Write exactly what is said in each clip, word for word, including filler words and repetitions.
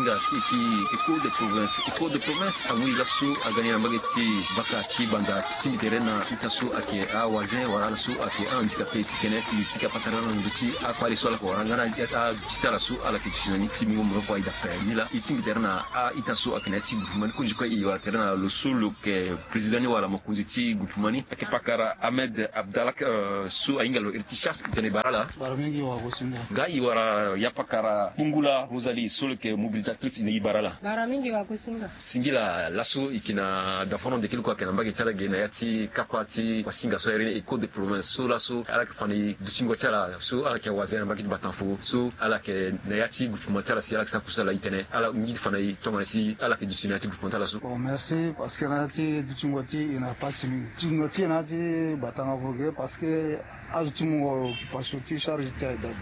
Ti ti écho de province écho de province amu i laso aga ni na mbage ti baka ti banda ti tingbi tere na ita so ayeke awazin wala ala so ayeke ahandicapé ti tene i pika patara na ndö ti akpale so ala yeke wara nga na aduti ti ala so ala yeke duti na ni ti mingo moloko aye dape ni laa i tingbi tere na a-ita so ayeke na ya ti groupement ni kozo kue i wara tere na lo so lo yeke président ni wala mokonzi ti groupement ni ayeke pakara Ahmed Abdallah so ahinga lo iri ti chasse tene i bara ala. Bara mingi wagosinga. Nga i wara ya pakara Kungula Rosalie so lo yeke mobilisatrice i na i bara ala. Bara mingi wagosinga. Singila laso i yeke na dafono ndeke luku ayeke na mbage ti ala ge na ya ti kapa ti wasinga so ayere ni écho de province so laso ala yeke fa na i dutingo ti ala so ala yeke wazin na mbage ti batanfo so ala yeke na ya ti groupement ti ala si ala yeke sara kusala i tene ala ngi ti fa na i tongana si ala yeke duti na ya ti groupement ti ala so. Bon merci parce que na ya ti dutingo ti i na pasi mingi dutingo ti i na ya ti batanga vo ge parce que azo ti mungo occupation ti charge ti aye dape.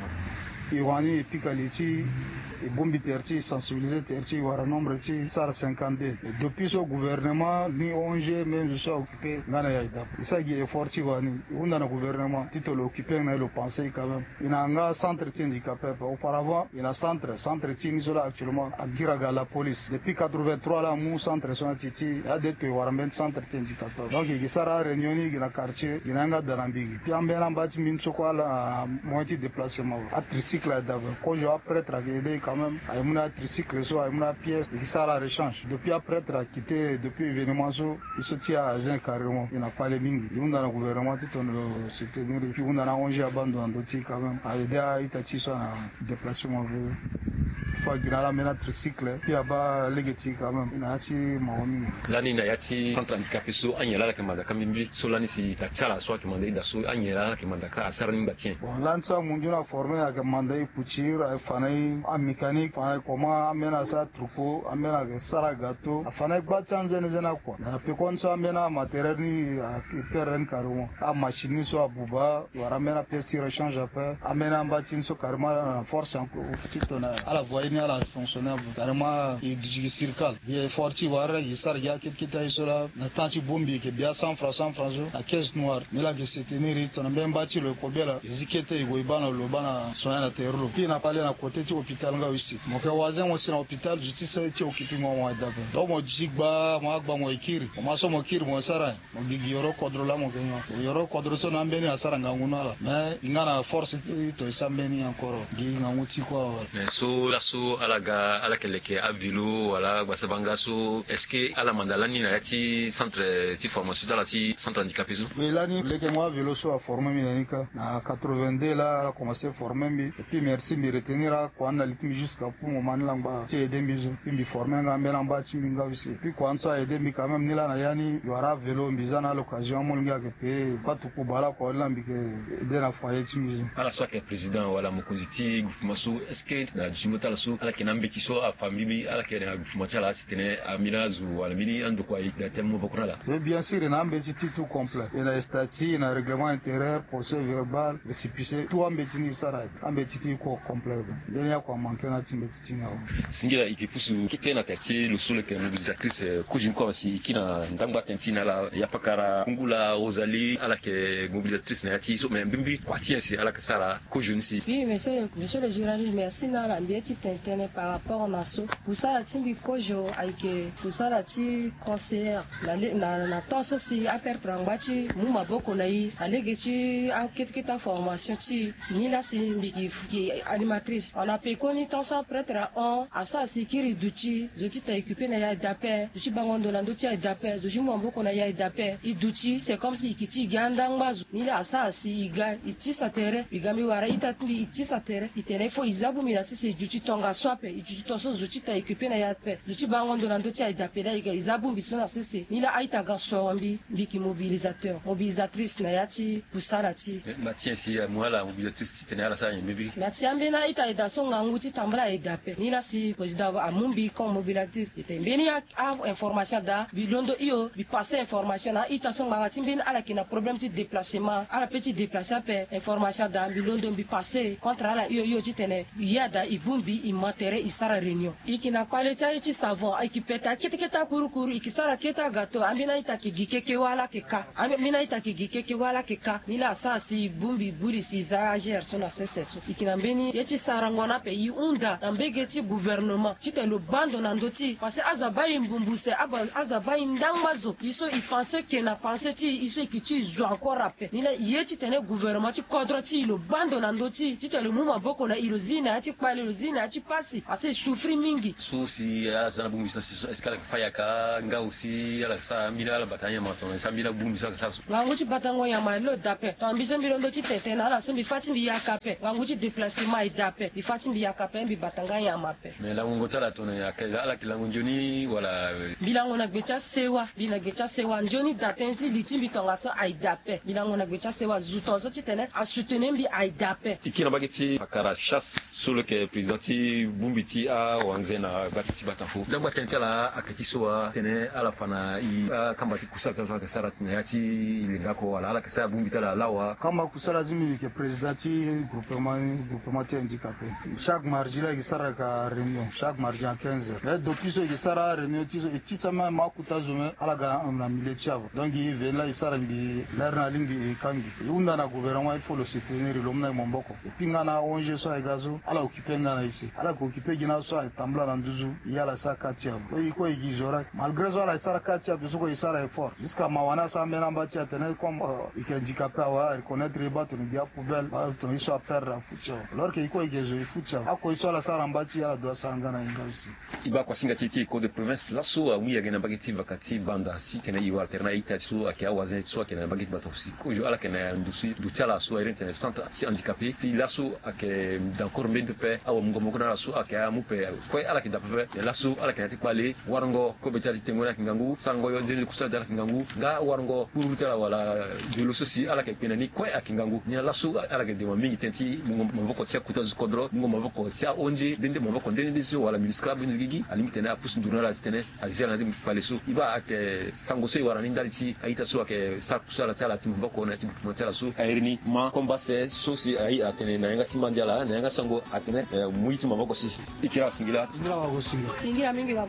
E wani e pika li ti e bongbi tere ti e sensibiliser tere ti e wara nombre ti e sara cinquante-deux. Depuis so gouvernement ni ong même zo so a occuper nga na e aye dape e sara gi effort ti e wani e hunda na gouvernement ti tolo occuper nga na e lo penser e quand même. E na nga centre ti handicapé ape auparavant e na centre centre ti e ni so laa actuellement a gira ga la police depuis quatre-vingt-trois laa amu centre so na ti ti e ade to e wara mbeni centre ti handicapé ape donc e gi sara aréunion ni e gi na quartier e gi na yanga da na mbi gi pia mbeni amba ti mbi ni so kue ala na moyen ti déplacement atricycle aye dape kozo aprêtre ayeke aide e quand même aye mu na atricycle so aye mu na apièce e gi sara aréchange depuis aprêtre akite depuis événement so e so ti e azin carrément e na kpale mingi e hunda na gouvernement ti tongana lo soutenir e puis e hunda na ong abando na ndö ti e quand même aide a-ita ti e so ana déplacement vo. Fo agi na ala ambeni atricycle puis abaa lege ti e quand même e na ya ti mawa mingi. Lani na ya ti centre handicapé so anyen laa ala yeke manda kâ mbi mbi so lani si na ti ala so ayeke manda e daa so anyen laa ala yeke manda kâ asara ni ngba ti nyen? Bon lani so amundu ni aformer ayeke manda e couture aye fa na e amécanique fa na e comment ambeni asara troupeau ambeni ayeke sara gâteau afa na e gba ti anzene zene akua na pekoni so ambeni amatériel ni ayeke perdre ni carrément amachine ni so abuba wala ambeni apièce ti rechange ape ambeni amba ti ni so carrément ala na force encore ti tongana ala voyer ni ala fonctionner ape carrément e duti gi sirkal gi effort ti e wara gi sara gi akete kete aye so laa na temps ti bongbi e yeke bia cent francs cent francs so na caisse noire ni laa e yeke soutenir e tongana mbeni mba ti lo e kobela e zi kete e gue e baa na lo lo baa na soin na tere lo puis na kpale na côté ti hôpital nga aussi mo yeke wazin mo si na hôpital zo ti se ti occuper mo mo aye dape donc mo duti gba mo agba mo e kiri mo ma so mo kiri mo sara nyen? Mo gi gi yoro kodro laa mo yeke nyon yoro kodro so na ambeni asara ngangu na ala mais e nga na force ti to e sara mbeni encore gi ngangu ti kue awe. Mais so laso ala ga ala yeke leke avelo wala gbasabanga so est-ce que ala manda lani na ya ti centre ti formation ti ala ti centre handicapé so? Oui lani leke mo avelo so aformer mbi na ni kâ na quatre-vingt-deux laa ala commencer former mbi et puis merci mbi retenir akua ni na li ti mbi jusqu'à pour moment ni langba ti aider mbi so puis mbi former nga ambeni amba ti mbi nga aussi et puis kua ni so a aider mbi quand même ni laa na ya ni mbi wara avelo mbi za na aloccasion amolenge ayeke payer patuku bala kua ni laa mbi yeke aider na foyer ti mbi so. Ala so ayeke président wala mokonzi ti groupement so est-ce que na dutingo ti ala so ala yeke na ambeti so afamille mbi ala yeke na groupement ti ala si tene ambeni azo wala mbeni andokua e daa tënë maboko na ala? Oui bien sûr e na ambeti ti tout complet e na statut e na règlement intérieur procès verbal récépissé tout ambeti ni e sara aye. Ambeti ti e kue complet. Mbeni akua manquer na ti mbeti ti ni awe. Singila e ke pusu kete na tere ti lo so lo yeke mobilisatrice kozo ni kue si e kiri na ndangba tënë ti e na ala ya pakara kungula ozali ala yeke mobilisatrice na ya ti e so mais mbimbi kua ti nyen si ala yeke sara kozo ni si? Oui monsieur le journaliste merci na ala mbi ye ti tene tënë par rapport na so kusala ti mbi kozo ayeke kusala ti conseillère na temps so si apertre angba ti mu maboko na e na lege ti akete kete aformation ti e. Ni laa si mbi gi gi animatrice on a pekoni tant so apretre ahon asara si e kiri duti zo ti ta e kupe na ya e dape zo ti bango ndo na ndö ti ya e dape zo ti mu maboko na ya e dape e duti c'est comme si e kiti e gi andangba zo. Ni laa asara si e ga e tisa tere e ga mbi wara ita ti mbi e tisa tere e tene fo e za bongbi na sese e duti tongaso ape e duti tongaso zo ti ta e kupe na ya ape zo ti bango ndo na ndö ti ya e dape laa e ga e za bongbi so na sese ni laa a-ita ga soro mbi mbi yeke mobilisateur mobilisatrice na ya ti kusala ti e. Mba ti nyen si amu ala mobilisatrice ti tene ala sara nyen mbirimbiri? Na ti ambeni a-ita aye daa so ngangu ti tambula aye daa ape ni laa si président amu mbi comme mobilisatrice e tene mbeni a-information daa mbi londo hio mbi passer information na a-ita so ngbanga ti mbeni ala yeke na problème ti déplacement ala pe ti déplacer ape information daa mbi londo mbi passer contre ala hio hio titene e ya daa e bongbi e Ma tere e sara réunion, e yeke na kpale ti aye ti savon, e yeke pete akete kete akurukuru, e yeke sara kete agato. Ambeni a-ita ayeke gi keke wâ ala yeke ka. Ambeni a-ita ayeke gi keke wâ ala yeke ka. Ni laa asara si e bongbi e buri si e za agr so na sese so. E yeke na mbeni ye ti sarango ni ape, e hunda na mbege ti gouvernement titene lo baa ndo na ndö ti e, parce que azo abaa e mbumbu se, azo abaa e ndangba zo. E so e pense ke na pense ti e, e so e yeke ti e zo encore ape. Ni laa e ye titene gouvernement ti kodro ti e lo baa ndo na ndö ti e titene lo mu maboko na e, lo zi na ya ti kpale, lo zi na ya ti pasi, parce que e souffrir mingi. So si ala za na bongbi so na sese so, est-ce que ala yeke fâ yaka nga aussi ala yeke sara ambeni ala bata anyama tongana si ambeni abongbi so ala yeke sara so? Ngangu ti batango nyama lo daa ape. Tongana mbi so mbi londo ti tene tene na ala so, mbi fâ ti mbi yaka ape. Ngangu ti déplacement e daa ape. Mbi fâ ti mbi yaka ape, mbi bata nga nyama ape. Mais langongo ti ala tongana ala yeke lango nzoni wala? Mbi lango na gbe ti asewa. Mbi na gbe ti asewa nzoni daa tënë ti li ti mbi tongaso aye daa ape. Mbi lango na gbe ti asewa zo tongaso titene asoutenir mbi aye daa ape. E kiri na mbage ti Pakara Chasse so lo yeke président ti bongbi ti awanze na gba ti ti Batanfo. Ndangba tënë ti ala ayeke ti so wa titene ala fa na e akamba ti kusala ti ala so ala yeke sara na ya ti linga oko wala ala yeke sara bongbi ti ala lawa? Kamba kusala ti mbi, mbi yeke président ti groupement, groupement ti handicapé. Chaque mardi laa e yeke sara yaka réunion, chaque mardi à quinze heures. Mais depuis so e yeke sara aréunion ti so, e tisa même akota zo même ala ga na milieu ti e ape. Donc e veni laa e sara mbi lere na alingbi e ka mbi. E hunda na gouvernement, il faut lo soutenir lo mu na e maboko. E pinga na a-O N G so ayeke ga so, ala occuper nga na e si. Ala yeke occuper gi na aso ayeke tambula na nduzu, e ala sara ka ti e ape. E kue e gi zo rek. Malgré so ala sara ka ti e ape, so kue e sara effort. Jusqu'à mawa ni asara mbeni amba ti e atene comme, euh, e yeke handicapé awe, a reconnaître e baa tongana e gi apoubelle, baa tongana e so aperdre afu ti e awe. Alors que e kue e yeke zo e fu ti e awe. Akoi so ala sara na mba ti e ala doit sara nga na e nga aussi. E baa kuasinga ti e ti e code de province laso amu yege na mbage ti vaka ti Banda titene e wara tere na a-ita ti so ayeke awazen ti so ayeke na mbage ti Batanfo si kozo ala yeke na ndo si ndo ti ala so a iri ni tene centre ti handicapé si laso ayeke d'accord mbeni pepe. Awamungo maboko na ala so ayeke amu pepe kue ala yeke daa pepe. Mais laso ala yeke na ya ti kpale warango kobe ti ala ti tengo ni ayeke ngangu, sarango yo nzene kusala ti ala ayeke ngangu, nga warango kpurukpuru ti ala wala dolo so si ala yeke kpe na ni kue ayeke ngangu. Nyen laso ala yeke dema mingi tënë ti mungo maboko ti akota zo kodro, mungo maboko ti a-O N G nde nde maboko nde nde so wala MINUSCA mbeni zo gigi alingbi titene apusu nduru na ala titene azi ala na ya ti kpale so. E baa ayeke sango so e wara ni ndali ti a-ita so ayeke sara kusala ti ala ti maboko na ya ti groupement ti ala so a iri ni Ma Komba Se so si aye atene na yanga ti mba ndi ala na yanga sango atene, eh, mu ye ti maboko si. E kiri ala singila. Singila mingi.